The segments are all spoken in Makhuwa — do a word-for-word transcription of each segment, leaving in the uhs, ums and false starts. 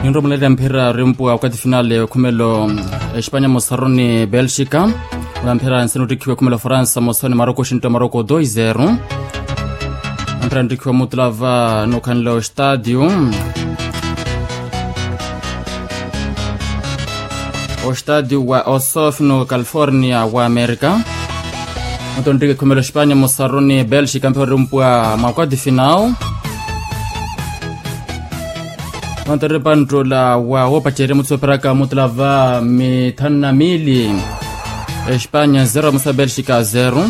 Ninromulela mphira rimpuwa wakati finale okhumelo, espanya mosaroni belgica. Ola mphira nsina ottikhiwa okhumelo fransa mosaroni maroko oxintta maroko dois zero. Mphira nttikhiwa mutulava nokhanle ostadio, ostadio wa osofino california wa america. Onto nttike khumelo espanya mosaroni belgica mphira rimpuwa mwa kwati final. Onto ripanttola wa woopacerya mutsoperaka mutulava mithanu na mili. Espanya zero musa belgica zero.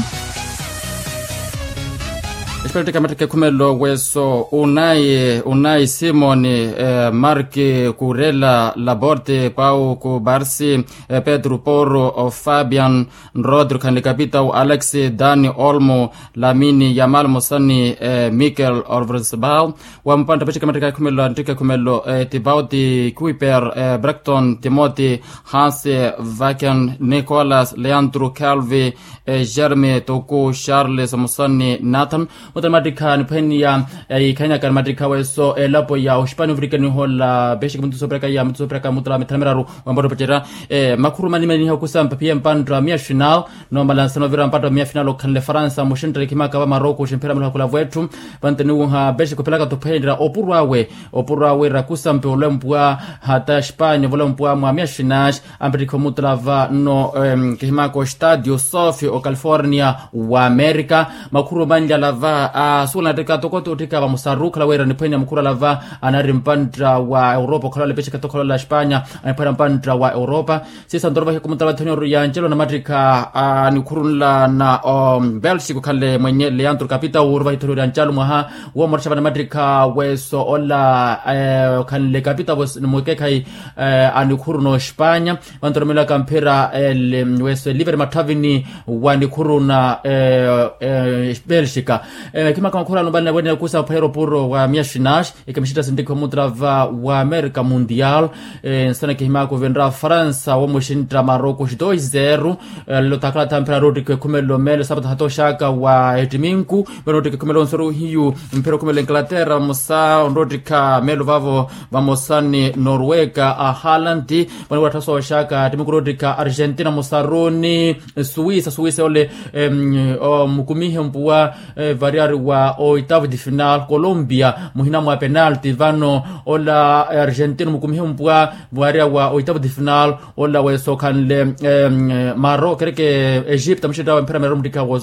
Espanya ttika mattika ekhumelo weso unai unai simoni, mark kurela laborte pau kubarsi, pedro poro fabian, rodrigo khanle kapitau alex, dani olmo, lamini yamal mosani, mikel olvresbal. Wa mpantta pacika mattika ekhumelo anttika ekhumelo tipauti kuiper, brakton timoti, hanse, vaken nicolas leandro calvi, jeremy toku charles mosani nathan. Mutani mattikha niphweniya ikhannyaka ni mattikha weso elapo ya oxipani ovirikanihola pexiki muntu soperaka ya muntu soperaka mutala mithana miraru. Wambatta opacerya makhuru manimaniha okusampa phiye mpantta miya final. Nomala nsana ovira mpatto miya final okhanle faransa muxinttele khimaka va maroko oximphira mulakhula vwetthu. Vanto niwuha pexiki ophilaka tophweenerya opuro awe, opuro awe rakusampe olempwa hata espanya volempwa mwa miya final. Ampettikha omutulava nno kihimaka ostadio sofi ocalifornia wa america. Makhuru manlala va asuwela nattikha toko ottikha vamosaru okhala wira niphwenya makhuru ala va anari mpantta wa europa okhala ole pexika tokhala ole espanya. Aniphwera mpantta wa europa. Siisa ntoro vahiku mutava thonyoru ya ncelo na mattikha anikhurunla na belsico khanle mwenye leandro kapita wuru vahithonyoru ya ncelo mwaha. Womottha vana mattikha weso ola khanle kapita weso ni mukekhayi anikhuruna ospanya. Vanto romelaka mphira weso eliver matthavini wanikhuruna belsica. Kimaka makhurano vana wene kusa phwera opuro wa miya shinash. Ekamixitta sintikha omutrava wa america mundial. Nsana kihimaka ovenra faransa womuxintta maroko xitoi zero. Lelo takala thamphira rottikha ekhumelo melo sapata hatoxaka wa ettiminku. Melo rottikha ekhumelo nsoro hiyu mphira okhumelo inglaterra vamosa onrottikha melo vavo vamosani norwega a halanti. Vano wattha sooxaka ettiminku rottikha argentina mosaruni suwisa suwisa ole omukumihe mpuwa. Variyari wa oitavu de final colombia muhina mwa penalti vano ola argentino mukumihe mpwa. Variya wa oitavu de final ola weso okhanle maro kereke egipta muxintta wa mphira mero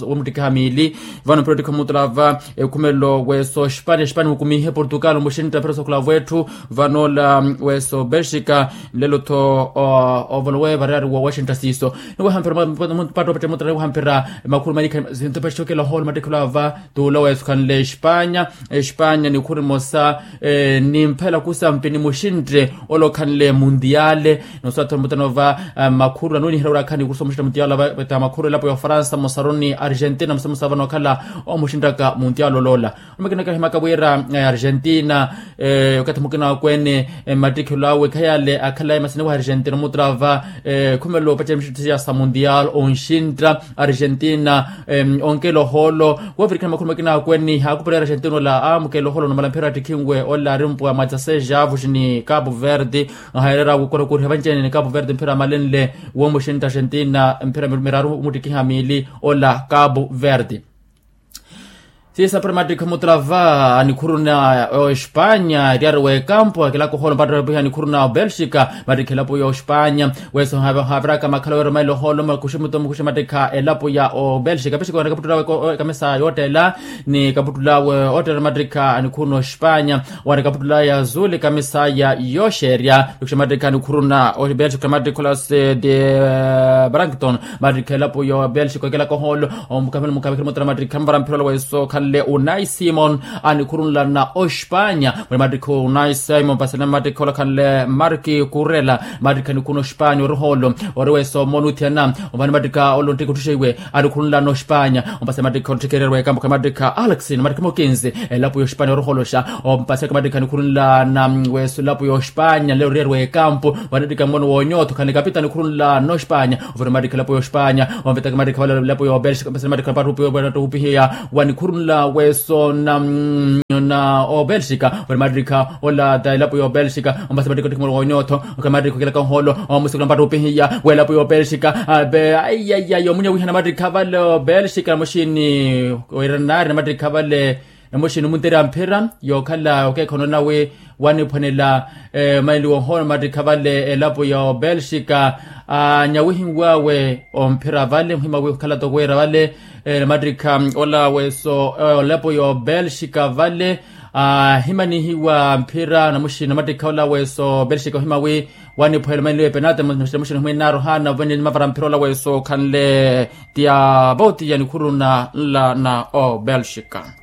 womuttikiha mili. Vano mphira ottikha mutulava ekhumelo weso espania espania mukumihe portugal muxintta mphira sokhula vwetthu. Vano ola weso belgica lelo-tho ovolowe variyari wa washington siiso. Niwahamphira mpatto opette mutulava niwahamphira makhulu malikha sinto pexokela oholo mattikhelo ava. Tuula wesu khanle espanya espanya nikhuru emosa nimphela kusampi nimuxintte ole okhanle mundiale. Nosattha mutano va makhuru anuniherya ori akhani kurusa omuxintta mundiale ava veta makhuru elapo ya ofaransa mosaroni argentina musamusa vano okhala omuxinttaka mundiale oloola. Omakinaka himaka wira argentina okathi mukina wakwene mattikhelo awe khayale akhalaye masini wa argentina omutrava khumelo opacerya mixitthi ya sa mundial onxintta argentina onkela ohoolo. Wovirikana makhulu makina akwene haakupurera argentina ola amukela ohoolo numala mphira attikhinwe ola ari mpwa mwa dzaseja avuxi ni capo verde. Ahayereera wukora kuriha vanci-ene ni capo verde mphira amalenle womuxintta argentina mphira miraru omuttikiha miili ola capo verde. Siisa mphira mattikha mutulava anikhuruna oespanya eriyari w'ekampu akilaka ohoolo mpatto epiha anikhuruna obelxica. Mattikha elapo ya ospanya weso haaviraka makhala weeromela ohoolo makuximuto mukuxi mattikha elapo ya obelxica pexiko wana kaputtula awe ekamisa yoottela ni kaputtula awe oottela mattikha anikhuruna ospanya. Wana kaputtula ya azuli ekamisa ya yooxerya. Nikuxa mattikha anikhuruna obelxica mattikha ola se de brankton mattikha elapo ya obelxica okelaka ohoolo. Omukamelo mukamelo mutana mattikha mvara mphira ola weso okhanle unai simon anikhurunla na ospanya. Muli mattikha unai simon mpasene mattikha ola khanle marki kurela mattikha anikhuruna ospanya ori ohoolo ori weso omona uthiyana. Omvani mattikha ola onttikha otthuxeiwe anikhurunla na ospanya ompasene mattikha otthikererwa ekampo kha mattikha alex ni mattikha mokinzi. Elapo ya ospanya ori ohooloxa ompaseka mattikha anikhurunla na weso elapo ya ospanya nle oriyerwa ekampo. Vanattikha mmono woonyotho khani kapita anikhurunla na ospanya. Ovira mattikha elapo ya ospanya omvetaka mattikha vale elapo ya obelxica ompasene mattikha mpattupihiya wanikhurunla weso na na obelxika weri matrikha ola ta elapo ya obelxika ompasa matrikha otthikimoro wonyotho. Oka matrikha okilaka ohoolo omusukula mpattupihiya w'elapo ya obelxika. Aiyaiya yomunya wihana matrikha vale obelxika na muxini wira naari na matrikha vale na muxini omunterya mphira yookhala okeekhono nawe waniphwanela maili wohoona matrikha vale elapo ya obelxika. Anyawihiwawe omphira vale muhima wi okhala toko wira vale na matrikha ola weso elapo ya obelxika vale ahimanihiwa mphira na muxini na matrikha ola weso obelxika ohima wi waniphwanela maili wepenate na muxini ohimwinaari ohaana ovene mavara mphira ola weso okhanle tiya voti ya nikhuru na nla na obelxika.